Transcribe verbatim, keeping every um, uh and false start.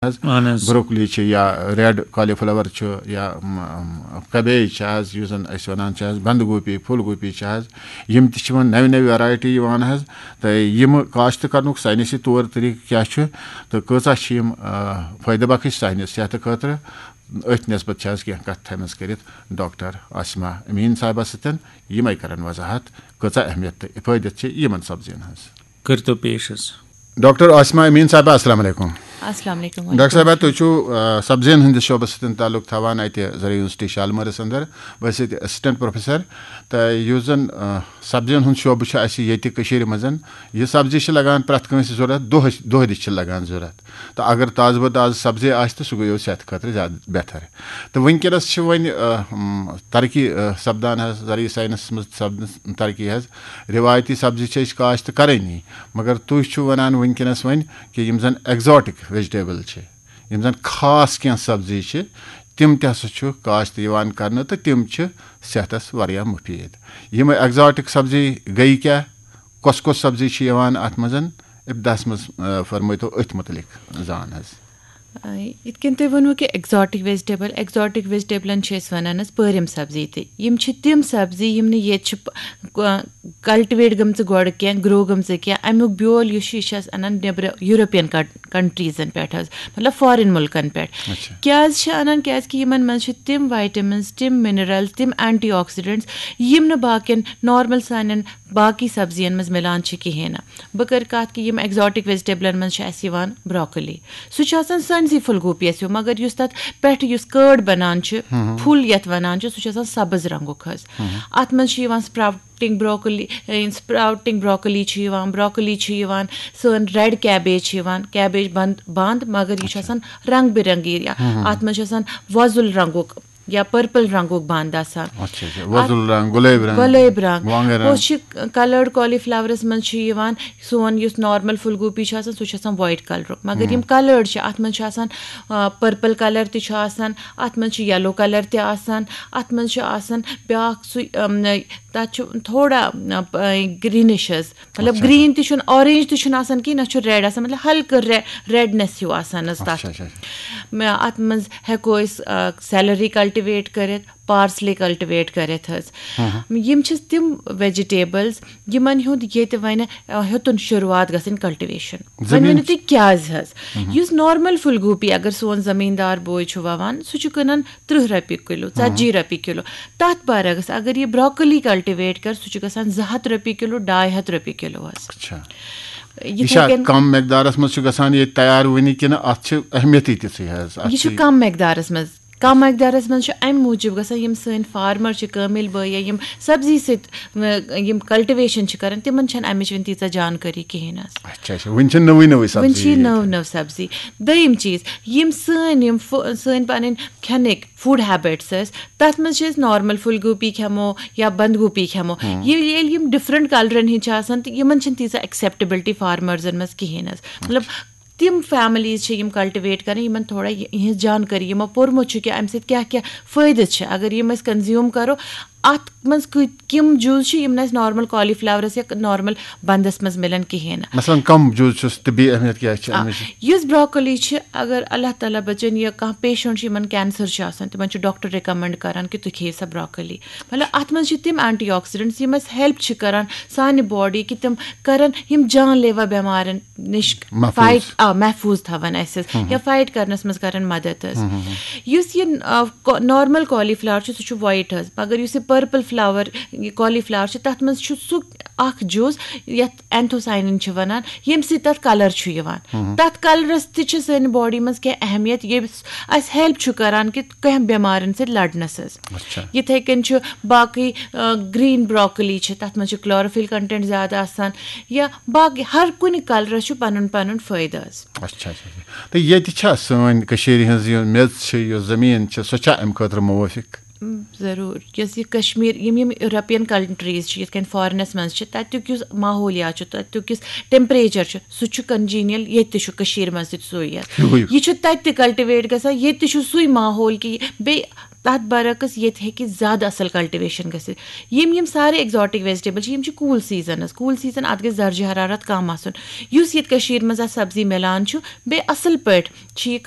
حظ۔ اہن حظ۔ بروکلی چھِ یا ریڈ کالی فلاور چھُ یا، م، م، کیبیج چھِ حظ، یُس زَن أسۍ وَنان چھِ حظ بَنٛد گوٗپی، پھول گوٗپی چھِ حظ، یِم تہِ چھِ وۄنۍ نَوِ نَوِ ویرایٹی یِوان حظ۔ تہٕ یِم کاشت کَرنُک ساینسی طور طریٖقہٕ کیٛاہ چھُ تہٕ کۭژاہ چھِ یِم، آ، فٲیدٕ بخش سانہِ صحتہٕ خٲطرٕ، أتھۍ نسبت چھِ حظ کینٛہہ کَتھ تھایمَژٕ کٔرِتھ ڈاکٹر عاصمہ امیٖن صاحبَس سۭتۍ۔ یِمَے کَرَن وضاحت کۭژاہ اہمیت تہٕ فٲیدٕ چھِ یِمَن سبزیَن ہٕنٛز۔ کٔرۍتو پیش حظ۔ ڈاکٹر عاصمہ امیٖن صاحبہ، السلام علیکم۔ السلام علیکم۔ ڈاکٹر صاحبہ، تُہۍ چھِو، آ، سبزین ہٕنٛدِس شعبس سۭتۍ تعلق تھاوان اَتہِ زرعی یونیورسٹی شالمٲرِس اندر، بہٕ ٲسۍ ییٚتہِ اسسٹنٹ پروفیسر۔ تہٕ یُس زن، آ، سبزین ہُنٛد شعبہٕ چھُ اَسہِ ییٚتہِ کٔشیٖرِ منٛز، یہِ سبزی چھِ لگان پرٛٮ۪تھ کٲنٛسہِ ضوٚرتھ، دۄہس، دۄہدِش چھِ لگان ضوٚرتھ۔ تہٕ اگر تازٕ بہ تازٕ سبزی آسہِ تہٕ سُہ گوٚو صحتہٕ خٲطرٕ زیادٕ بہتر۔ تہٕ وٕنکیٚنس چھِ وۄنۍ، آ، م، ترقی، آ، سپدان حظ، زرعی ساینسس منٛز سپدنس ترقی حظ۔ رِوایتی سبزی چھِ أسۍ کاشت کرٲنی، مگر تُہۍ چھِو وَنان وٕنکیٚنَس وۄنۍ کہِ یِم زَن ایگزاٹِک ویجٹیبل چھِ، یِم زَن خاص کینٛہہ سبزی چھِ، تِم تہِ ہسا چھُ کاشت یِوان کرنہٕ تہٕ تِم چھِ صحتَس واریاہ مُفیٖد۔ یِم ایگزاٹِک سبزی گٔے کیٛاہ؟ کۄس کۄس سبزی چھِ یِوان اَتھ منٛز؟ ابتداہَس منٛز، آ، فرمٲیتو أتھۍ مُتعلِق زان حظ۔ آ، یِتھ کٔنۍ تُہۍ ووٚنوُ کہِ ایگزاٹِک ویجٹیبل، ایگزاٹِک ویجٹیبلن چھِ أسۍ وَنان حظ پٲرِم سبزی تہِ۔ یِم چھِ تِم سبزی یِم نہٕ ییٚتہِ چھِ پ-، ک-، کلٹِویٹ گٔمژٕ گۄڈٕ کینٛہہ، گرو گٔمژٕ کینٛہہ۔ اَمیُک بیول یُس چھُ، یہِ چھِ اَسہِ اَنان نیٚبرٕ یوٗروپین کن-، کنٹریٖزن پٮ۪ٹھ حظ، مطلب فارِن مُلکن پٮ۪ٹھ۔ اچھا۔ کیٛازِ چھِ اَنان؟ کیٛازِ کہِ یِمن منٛز چھِ تِم ویٹمنز، تِم منرلز، تِم اینٹی آکسیڈنٹس، یِم نہٕ باقین نارمل سانٮ۪ن باقی سبزین منٛز مِلان چھِ کِہیٖنۍ نہٕ۔ بہٕ کَرٕ کَتھ کہِ یِم ایگزاٹِک ویجٹیبلَن منٛز چھِ اَسہِ یِوان بروکلی۔ سُہ چھُ آسان سٲنسٕے پھُل گوٗپیَس ہیوٗ، مگر یُس تَتھ پٮ۪ٹھ یُس کٲڑ بَنان چھِ، ہُم۔ پھُل یَتھ وَنان چھِ، سُہ چھُ آسان سَبٕز رنٛگُک حظ۔ ہُم۔ اَتھ منٛز چھِ یِوان سپراوٹنگ بروکلی، اے، سپراوٹنگ بروکلی چھِ یِوان، بروکلی چھِ یِوان، سٲنۍ ریڈ کیبیج چھِ یِوان، کیبیج بنٛد، بنٛد، مگر یہِ چھُ اچھا۔ آسان رنٛگ برنٛگی۔ ہُم، ہُم، اَتھ ہُم۔ منٛز چھُ آسان وۄزُل رنٛگُک یا پرپل رنٛگُک بنٛد آسان۔ اچھا، اچھا۔ وۄزُل رنٛگ، گۄلٲبۍ رنٛگ، گۄلٲبۍ رنٛگ۔ وانٛگن رنٛگ۔ ہُہ چھِ کلٲرڈ کالی فلاورس منٛز چھُ یِوان سون یُس نارمل پھول گوٗپی چھُ آسان، سُہ چھُ آسان وایٹ کلرُک، مگر یِم ہُم۔ کلٲرڈ چھِ، اتھ منٛز چھُ آسان، آ، پرپل کلر تہِ چھُ آسان، اتھ منٛز چھُ یلو کلر تہِ آسان، اتھ منٛز چھُ آسان بیٛاکھ سُہ، ام، تتھ چھُ تھوڑا، ام، گرینش حظ، مطلب اچھا۔ گرین تہِ چھُنہٕ، اورینج تہِ چھُنہٕ آسان کِہیٖنۍ، نہ چھُ ریڈ آسان، مطلب ہلکہٕ رے-، ریڈنس ہیوٗ آسان حظ تتھ۔ اچھا، اچھا، اچھا۔ مےٚ، اتھ منٛز ہٮ۪کو أسۍ، آ، سیلری کلٹِویٹ کٔرِتھ، پارسلی کلٹِویٹ کٔرِتھ حظ۔ ہاں، ہاں۔ یِم چھِ تِم ویجٹیبلز یِمن ہُنٛد ییٚتہِ وۄنۍ، آ، ہیوٚتُن شروٗعات گژھٕنۍ کلٹِویشن۔ وۄنۍ زٔمیٖن ؤنِو تُہۍ کیٛازِ حظ؟ ہاں، ہاں۔ یُس نارمل پھول گوٗپی اگر سون زٔمیٖندار بوے چھُ ووان، سُہ چھُ کٕنان ترٕٛہ رۄپیہِ کِلو، ہاں۔ ژتجی رۄپیہِ کِلو۔ تتھ برعکس اگر یہِ بروکلی کلٹِویٹ کر، سُہ چھُ گژھان زٕ ہتھ رۄپیہِ کِلو، ڈاے ہتھ رۄپیہِ کِلو حظ۔ اچھا۔ یہِ یِتھَے چھا کٔنۍ کم مقدارس منٛز چھُ گژھان یہِ تیار وٕنہِ کِنہٕ اتھ چھِ اہمیتٕے تِژھٕے حظ؟ اتھ یہِ چھُ چھِ کم مقدارس منٛز۔ کم مقدارس منٛز چھُ امہِ موٗجوٗب گژھان، یِم سٲنۍ فارمر چھِ، کٲمِل بٲے یا یِم سبزی سۭتۍ، م-، یِم کلٹِویشن چھِ کران، تِمن چھنہٕ امِچ وٕنہِ تیٖژاہ جانکٲری کِہیٖنۍ حظ۔ اچھا، اچھا، وٕنہِ چھِ نٔوٕے نٔوٕے سبزی وٕنہِ چھِ یہِ ییٚتہِ۔ نٔو نٔو سبزی۔ دوٚیِم چیٖز، یِم سٲنۍ یِم فو-، سٲنۍ پنٕنۍ کھٮ۪نٕکۍ فوڈ ہیبٹس ٲسۍ، تتھ منٛز چھِ أسۍ نارمل پھول گوٗپی کھٮ۪مو یا بند گوٗپی کھٮ۪مو۔ ہاں۔ ییٚلہِ، ییٚلہِ یِم ڈفرنٹ کلرن ہٕنٛدۍ چھِ آسان، تہٕ یِمن چھنہٕ تیٖژاہ ایکسیپٹیبلٹی فارمرزن منٛز کِہیٖنۍ حظ۔ مطلب، تِم فیملیٖز چھِ یِم کلٹِویٹ کران، یِمن تھوڑا یہِ، یِہٕنٛز جانکٲری، یِمو پوٚرمُت چھُ کہِ اَمہِ سۭتۍ کیٛاہ کیٛاہ فٲیدٕ چھِ۔ اگر یِم أسۍ کنزیوٗم کرو، اَتھ منٛز کۭتۍ، کِم جُز چھِ یِم نہٕ اَسہِ نارمل کالی فلاورس یا نارمل بندس منٛز مِلان کِہیٖنۍ نہٕ۔ مثلاً کم جُز چھُس، طبی اہمیت کیٛاہ چھِ آ، اَمِچ؟ یُس بروکلی چھِ، اگر اللہ تعالیٰ بچٲیِن یا کانٛہہ پیشنٹ چھُ، یِمن کینسر چھُ آسان، تِمن چھُ ڈاکٹر ریکمنڈ کران کہِ تُہۍ کھیٚیِو سا بروکلی۔ مطلب، اَتھ منٛز چھِ تِم اینٹی آکسیڈنٹس یِم اَسہِ ہیلپ چھِ کران سانہِ باڈی کہِ تِم کرن یِم جان لیوا بٮ۪مارن نِش محفوٗظ۔ فایٹ، آ، محفوٗظ تھاوان اَسہِ حظ، ہُم۔ یا فایٹ کرنس منٛز کرن مدد حظ۔ ہُم، ہُم، ہُم۔ یُس یہِ، آ، کو-، نارمل کالی فلاور چھُ، سُہ چھُ وایٹ حظ، مگر یُس یہِ پرپل فلاور، یہِ کالی فلاور چھُ، تتھ منٛز چھُ سُہ اکھ جُز یتھ اینتھوساینن چھِ ونان، ییٚمہِ سۭتۍ تتھ کلر چھُ یِوان۔ ہُم۔ تتھ کلرس تہِ چھِ سٲنۍ باڈی منٛز کینٛہہ اہمیت، ییٚمِس اَسہِ ہیلپ چھُ کران کہِ کینٛہہ بٮ۪مارن سۭتۍ لڑنس حظ۔ اچھا۔ یِتھَے کٔنۍ چھُ باقٕے، آ، گرین بروکلی چھِ، تَتھ منٛز چھُ کلوروفل کنٹینٹ زیادٕ آسان، یا باقٕے ہر کُنہِ کلرس چھُ پنُن پنُن فٲیدٕ حظ۔ اچھا، اچھا، اچھا۔ تہٕ ییٚتہِ چھا سٲنۍ کٔشیٖرِ ہٕنٛز یہِ میٚژ چھِ، یۄس زٔمیٖن چھِ، سۄ چھا اَمہِ خٲطرٕ موٲفِق؟ م، ضروٗر۔ یۄس یہِ کشمیٖر، یِم یِم یوٗروپین کنٹریٖز چھِ، یِتھ کٔنۍ فارنس منٛز چھِ، تَتیُک یُس ماحولیات چھُ، تَتیُک یُس ٹیمپریچر چھُ، سُہ چھُ کنجینیل ییٚتہِ تہِ چھُ کٔشیٖرِ منٛز تہِ سُے یَتھ۔ ہیوٗ ہیوٗ۔ یہِ چھُ تَتہِ تہِ کلٹِویٹ گژھان، ییٚتہِ تہِ چھُ سُے ماحول کہِ بیٚیہِ تَتھ برعکس ییٚتہِ ہیٚکہِ زیادٕ اَصٕل کلٹِویشن گٔژھِتھ۔ یِم یِم سارے ایگزاٹک ویجٹیبل چھِ، یِم چھِ کوٗل سیٖزنس، کوٗل سیٖزن، اَتھ گژھِ درجہ حرارت کم آسُن۔ یُس ییٚتہِ کٔشیٖر منٛز اَتھ سبزی مِلان چھُ، بیٚیہِ اَصٕل پٲٹھۍ چھِ یہِ